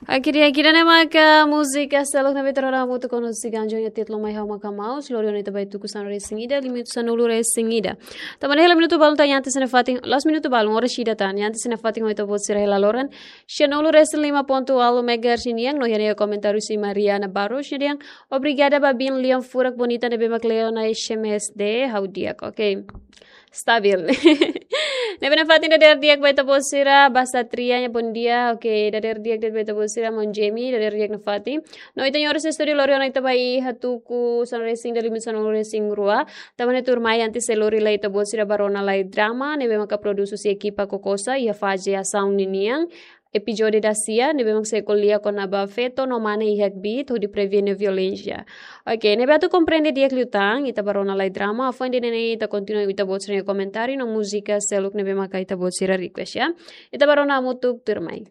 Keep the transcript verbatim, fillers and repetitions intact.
Oke, di'ak, ida-ne'e maka múzika seluk ne'ebé ita rona hamutuk ho nossi ganjo nia títulu Mai Ha'u Maka Maus, lori ona ita ba iha tuku sanulu-resin-ida, limitu sanulu-resin-ida. Tanba ne'e hela minutu balun tan iha ita-nia fatin, la'ós minutu balun, oras ida tan iha ita-nia fatin ho ita-boot sira hela loron. Sanulu-resin-lima pontu ualu megahertz nian, no iha ne'e komentáriu husi Mariana Barros, nia dehan, obrigada ba biin lian furak bonita ne'ebé mak leo ona S M S de'it, ha'u di'ak, oke. Stabil. Ne'ebé nafatin dadeer di'ak ba ita-boot sira, Basa Tria nia bom dia. Oke, dadeer di'ak de'it ba ita-boot sira, maun Jemi, dadeer di'ak nafatin. No ita-nia oras estúdiu lori ona ita ba iha tuku sanulu-resin-ida, limitu sanulu-resin-rua. Tanba ne'e tuirmai antes sei lori lai ita-boot sira ba rona lai drama, ne'ebé maka produs husi ekipa Kokosa, iha faze asaun ninian. Epizódiu dasia, ne'ebé mak sei ko'alia kona-ba feto no mane iha kbiit, hodi prevene violénsia. Oke, ne'ebé atu komprende di'ak liután, ita ba rona lai drama, hafoin ida-ne'e ita kontinua ita-boot sira-nia komentáriu no múzika seluk ne'ebé maka ita-boot sira request, ya. Ita ba rona hamutuk tuirmai.